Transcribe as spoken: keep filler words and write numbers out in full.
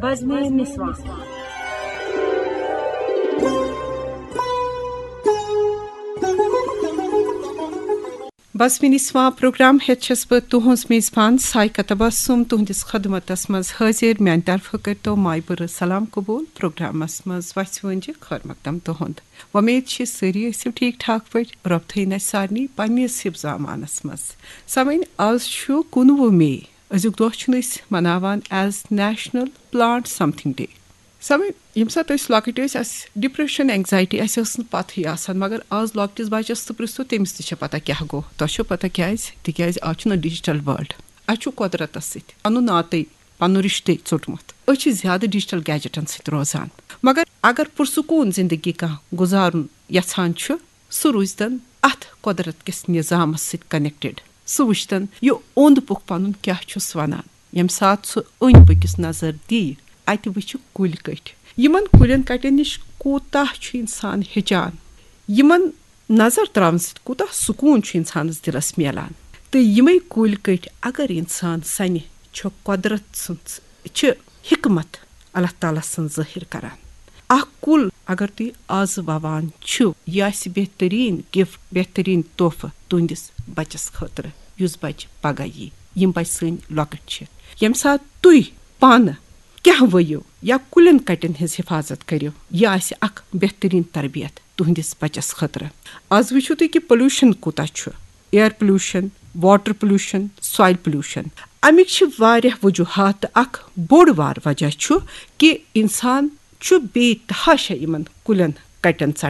بزمِ نسواں۔ بزمِ نسواں programme ہیتھ چھس بہٕ تُہنٛز میزبان سائقہ تبسم تُہنٛدِس خدمتس منٛز حٲضِر۔ میانہِ طرفہٕ کٔرتو مایہِ بٔرٕ سلام قبول۔ پروگرامس منٛز وژھِ وٲنجہِ خٲر مقدم تُہنٛد۔ وۄمید چھِ سٲری ٲسِو ٹھیٖک ٹھاک پٲٹھۍ۔ رۄب تھٲیِن اَسہِ سارنٕے پننِس حفظ امانس منٛز۔ سامعیٖن، آز چھُ کُنوُہ مئی۔ أزیُک دۄہ چھِنہٕ أسۍ مناوان as National Plant Something Day۔ سامعیٖن، ییٚمہِ ساتہٕ أسۍ لۄکٕٹۍ ٲسۍ، اَسہِ depression، anxiety، اَسہِ ٲس نہٕ پَتہٕے آسان، مگر آز لۄکٹِس بَچَس تہٕ پرٛژھو، تٔمِس تہِ چھےٚ پَتہ کیٛاہ گوٚو۔ تۄہہِ چھو پَتہ کیٛازِ؟ تِکیٛازِ آز چھُنہٕ digital world۔ اَسہِ چھُ قۄدرَتَس سۭتۍ پَنُن ناتے، پَنُن رِشتے ژوٚٹمُت۔ أسۍ چھِ زیادٕ digital gadgetن سۭتۍ روزان۔ مگر اگر پُرسکوٗن زِندگی کانٛہہ گُزارُن یَژھان چھُ، سُہ روٗزتن اتھ قۄدرت کِس نظامس سۭتۍ connected۔ سُہ وٕچھتن یہِ اوٚنٛد پوٚکھ پنُن کیٛاہ چھُس ونان۔ ییٚمہِ ساتہٕ سُہ أنٛدۍ پٔکِس نظر دِیہِ، اتہِ وٕچھِ کُلۍ کٔٹۍ۔ یِمن کُلٮ۪ن کٹٮ۪ن نِش کوٗتاہ چھُ انسان ہیٚچان۔ یِمن نظر تراونہٕ سۭتۍ کوٗتاہ سکوٗن چھُ انسانس دِلس میلان۔ تہٕ یِمے کُلۍ کٔٹۍ اگر انسان سنہِ، چھُ قۄدرت سٕنٛز، چھِ حکمت اللہ تعالیٰ سٕنٛز ظٲہِر کران۔ اکھ کُل اگر تُہۍ آز ووان چھِو، یہِ آسہِ بہتریٖن gift، بہتریٖن تحفہٕ تُہنٛدِس بچس خٲطرٕ، یُس بچہِ پگاہ یی۔ یِم بچہِ سٲنۍ لۄکٕٹۍ چھِ۔ ییٚمہِ ساتہٕ تُہۍ پانہٕ کینٛہہ ؤیِو یا کُلٮ۪ن کٹٮ۪ن ہٕنٛز حفاظت کٔرِو، یہِ آسہِ اکھ بہتریٖن تربیت تُہنٛدِس بچس خٲطرٕ۔ آز وٕچھِو تُہۍ کہِ pollution کوٗتاہ چھُ، air pollution، water pollution، soil pollution۔ اَمِکۍ چھِ واریاہ وجوہات، تہٕ اکھ بوٚڑ بار وجہ چھُ کہِ انسان چھُ بے تحاشا یِمن کُلٮ۪ن کٹٮ۪ن